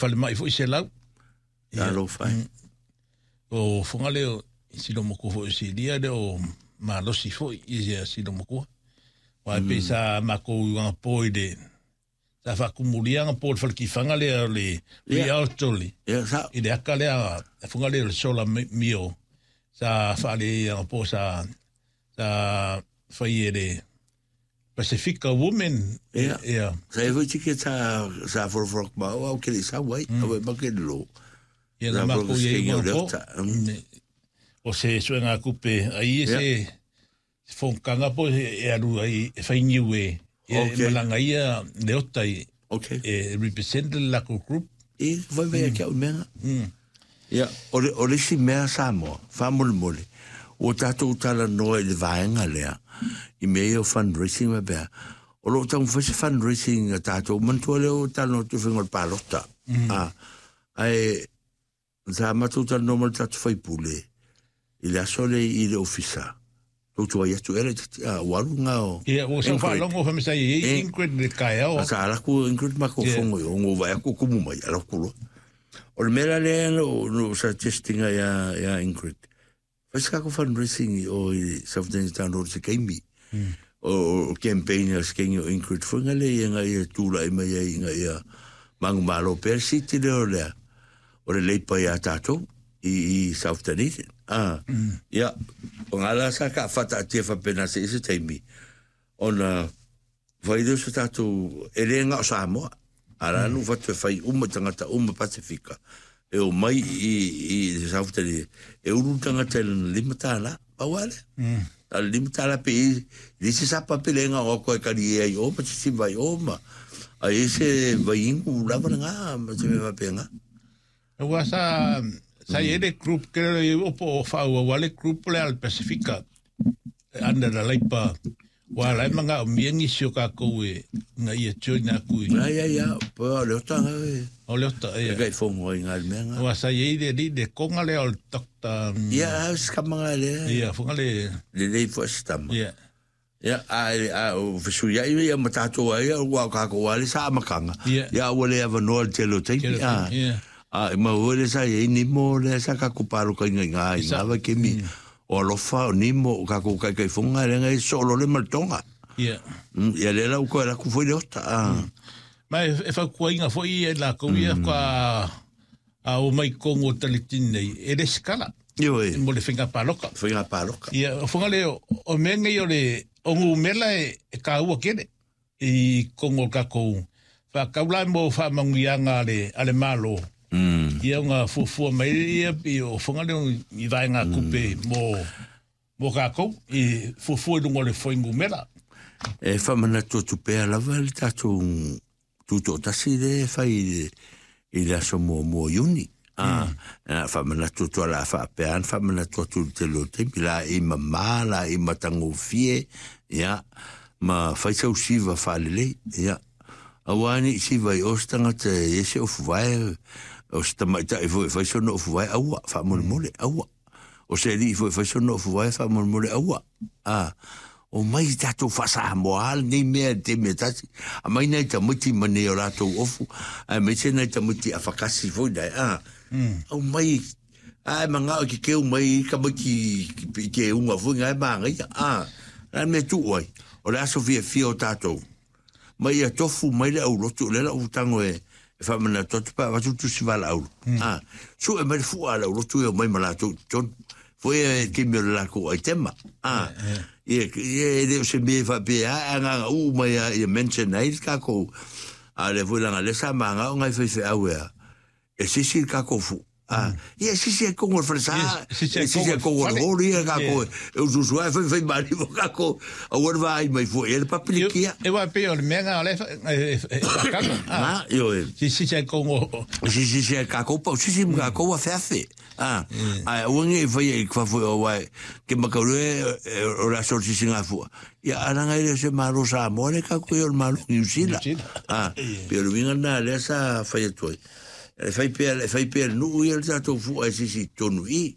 Falemai foi 100. Talofa e. O Fugaleo i Silomakua foi o Silia le o malosi foi i ia Silomakua. Wa pe sa makou i po i le sa faakumulia po le falekifanga lea o le Rialto le Ia, sa. i le aka lea Fugaleo le sola mio sa faale po sa sa fai e le Pasifika Women. Ia. Ia. Sa e foi tike sa sa foroforo ma o au kele sa wai, au e make lo. Ia Sa na foroforo makou i skengi o ai le po. ota. O se suenga kupe ai e se se fongkanga po e alu ai e fai niu e e malanga ia le ota i e represent le lako group. E vai vai kia o menga. Ia, o le isi mea Samoa, faamolemole, ua tatou talanoa i le vaega lea, i mea ia o fundraising ma pea, o loo taumafai se fundraising a tatou, manatua lea o talanoa atu i faiga o le palota. Ae, sa matou talanoa ma le tatou faipule, i le aso lea i le ofisa, toutuai atu ea le tati, ua alu ngā o Ia, ua sau Ingrid. faalogo fa i Ingrid le kaeao. Sa alaku Ingrid ma ko fongo i ongo vai aku kumu mai, alaku loa. O le mea la lea no suggestinga ia Ingrid. Fai se kako fundraising i o i South Town Road se keimi. O campaign a skengi o Ingrid foi ngale ia nga ia tūla i mai ai nga ia mangu malo pea siti leo lea. O le leipa ia tātou i South Dunedin. Ia, o ngā la sa ka whata atia whapena se isi taimi. Ona, whai leo se tātou e le ngā o Samoa. Ara nu whatu e whai uma tangata uma Pasifika. E o mai i South Dunedin. E uru tangata e lana lima tāla, pau ale. A lima tāla pe i, i se sapa pe le ngā o koe kari e ai o, ma se si vai o ma. A e se vai ingu lava ngā, ma se me wape ngā. Ua sa i ele group ke le opo o whaua wale group le al Pasifika. Anda la leipa wa lai manga o miengi si o kākou e nga ia join aku i. Ai, ai, ai, po o le ota ngā e. O le ota, ia. E kai fongo ai ngā mea ngā. Ua sa i le li le konga le o le dokta. Ia, au skamanga le. Ia, fonga le. Le lei fo stama. Ia. Ia, a, o fesu ia ia ma tātou ai, ua o kākou ale sa amakanga. Ia. Ia, ua le awanoa le tele o teimi. Tele o teimi, ia. A, ma ua le sa ia nimo le sa kākou pāloka i ngā i ngā vai kemi. O alofa, o nimo, o kākou kai kai fonga, le ngai solo le maltonga. Ia. Ia le lau koe laku foi le ota. Ma e whakuainga foi e la kou ia ka a o mai kongo talitin nei, e le skala. Io e. Mo le whenga pāloka. Whenga pāloka. Ia, o whanga le, o mea ngai o le, o ngu mela e ka ua kere i kongo kakou. Whakaula mo whamanguianga ale malo. Ia ngā fuafua mai ia i o whanga le i vai ngā kupe mo kākou i fuafua i lunga o le whaingu mela. E whamanatu atu pea lava le tātou tūtoʻatasi le fai i le aso muamua o Iuni. Whamanatu atu ala whaapea ana, whamanatu atu le tele o taimi, la i mamā, la i matagofie, ia, ma fai sau siva whaalelei, ia. Aua ni siva i o se tagata e ese ofu vae, o se tamaitai foi e fai sona ofu vae, aua, faamolemole, aua. O se alii foi e fai sona ofu vae, faamolemole, aua. O mai tātou whaasahamoa nei mea te mea tasi. A mai nei tamaiti ma nei o rātou ofu, a mai se nei tamaiti a whakasi foi nei. Au mai, ai manga o ki keu mai ka mai ki ke unga foi ngai maangai. Rā mea tu oi. O le aso fia fia o tātou. Mai a tofu mai le aulotu, le la utango e whamana totu pa watu tu si wala aulu. Su e mai le fua le aulotu e o mai ma lātou tonu. Foi e ke mea o le lākou ai tema. Ia, e le o se mea whapea, a ngā u mai a ia mention ai le kākou. A le foi langa le sa maanga o ngai whaiwhe au ea. E sisi le kākou fu. Ia, sisi e kongo le whalesa. Sisi e Sisi e kongo kongo le le hori e kākou. E ususu ai whai whai mani mo kākou. A ua le vāi mai fua, e le papilikia. E wā pē o le mea ngā le e whakanga. Io e. Sisi e kongo. Sisi e kākou pau, sisi mo kākou a wheawhe. Ai, ua nge i whai e kwa fua o wai, ke makauru e o la sor sisi ngā fua. Ia, aranga i le se malo Samoa le kākou e o le malo New Zealand. New Zealand. Pe o le winga nā lea sa whai atu ai. E whai pea, e whai pea nuu ia le tātou fua e sisi tonu i.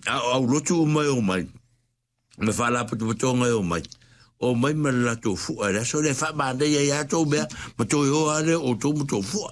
Au lotu o mai o mai. Me whālāpatapatonga e o mai. Omai ma le latou fu'a i le aso lea e faamanaia ai lava tou mea ma toe o lava lea o outou ma tou fu'a.